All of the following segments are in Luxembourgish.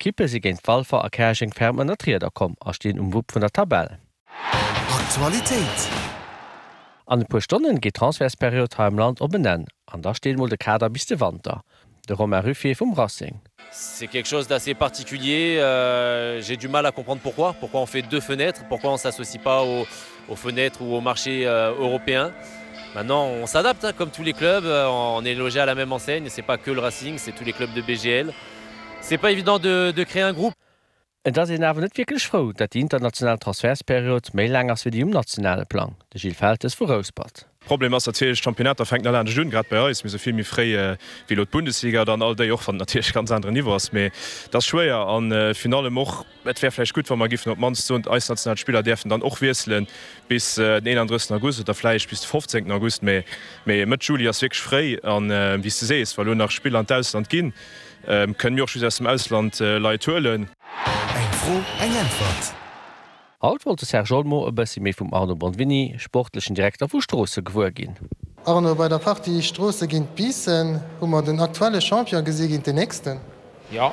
Ekippe si géint Walfer a Käerjeng ferm ënner d'Rieder komm a stinn um Wupp vun der Tabell. Aktualitéit. An e puer Stonnen geet d'Transfertsperiod hei am Land op en Enn an da steet mol de Kader bis de Wanter. De Romain Ruffier vum Racing. C'est quelque chose d'assez particulier, j'ai du mal à comprendre pourquoi, pourquoi on fait deux fenêtres, pourquoi on s'associe pas aux, aux fenêtres ou au marché européen. Maintenant on s'adapte comme tous les clubs, on est logé à la même enseigne, c'est pas que le Racing, c'est tous les clubs de BGL. C'est pas évident de, de créer un groupe. Et ass een awer net wierklech frou, dat déi international Transfertsperiod méi laang ass wéi déi um nationale Plang. De Gilles Feltes vu Rouspert. Problem ass natierlech, d'Championnater fänken all anescht un, grad bei eis. Mir si vill méi fréi wéi elo d'Bundesliga dann all déi, och wann et natierlech e ganz aneren Niveau ass. Mee et ass schwéier a virun allem och, et wär vläicht gutt, wa mer giffen op d'mannst soen, eis national Spiller däerfen dann och wiesselen bis den 31. August oder vläicht bis de 15. August. Mee Mëtt Juli ass wierklech fréi an, wéi s de sees, wa lo nach Spiller an d'Ausland ginn, Kënnen mir och just aus dem Ausland Leit huelen? Eng Fro, eng Äntwert. Haut wollt de Serge Olmo e bëssi méi vum Arno Bonvini, sportlechen Direkter vu Stroosse gewuer ginn. Arno, bei der Partie Stroosse géint Biissen hu mer den aktuelle Champion gesi géint den nächsten. Jo.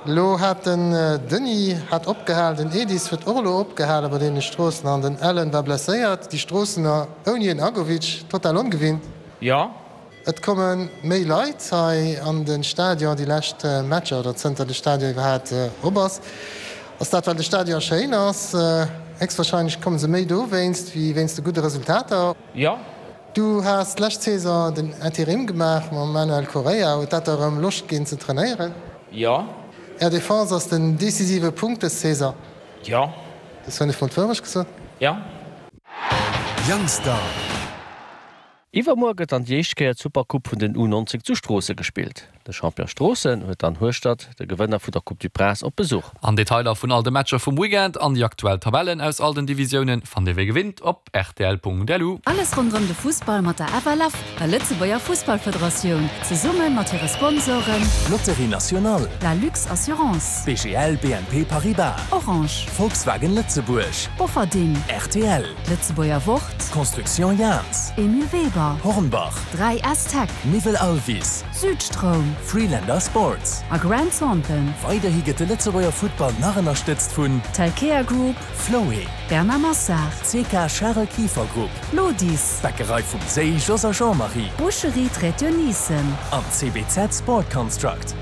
Elo hat den Denis hat opgehal, den Edis huet och elo opgehale bei deene Stroossener an den Alan war blesséiert. Déi Stroossener ouni en Agovic, total ongewinnt. Jo. Et komme méi Leit hei an de Stadion déi lescht Matcher oder zënter de Stadion iwwerhaat op ass. Ass dat well de Stadion schéin ass? Héchstwahrscheinlech komme se méi dowéinst wéi wéinst de gudde Resultater. Jo. Du has d'lescht Saison den Interim gemaach mam Manuel Correia. Huet dat der erëm Loscht ginn ze trainéieren? Jo. Är Defense ass den decisive Punkt dës Saison. Jo. Dës hunn ech mol d'Wourecht gesot. Jo. Youngstar. Iwwermuer gëtt dann déi éischt Kéier d'Supercoupe vun den U19 zu Stroosse gespillt. De Champion Stroossen huet dann Hueschtert, de Gewënner vun der Coupe du Prince, op Besuch. An Detailer vun all de Matcher vum Weekend an déi aktuell Tabellen aus all den Divisiounen fannt dir wéi gewinnt op rtl.lu. Alles ronderëm de Fussball mat der FLF, der Lëtzebuerger Fussballfederatioun, zesumme mat hire Sponsoren. Lotterie Nationale. La Lux Assurance. BGL BNP Paribas. Orange. Volkswagen Lëtzebuerg. Bofferding. Rtl. D'Lëtzebuerger Wort. Construction Jahns. Emile Weber. Hornbach. 3S Tech. Niwwel Alvis. Südstroum. Freelander Sports. A Grant Thornton. Weiderhi gëtt de Lëtzebuerger Futtball nach ënnerstëtzt vun. Telkea Group. Floé. Bernard Massard. CK Charel Kieffer Group. Lodis. Bäckerei vum Séi, Jos a Jean-Marie. Boucherie Traiteur Niesen. An CBZ Sport Construct.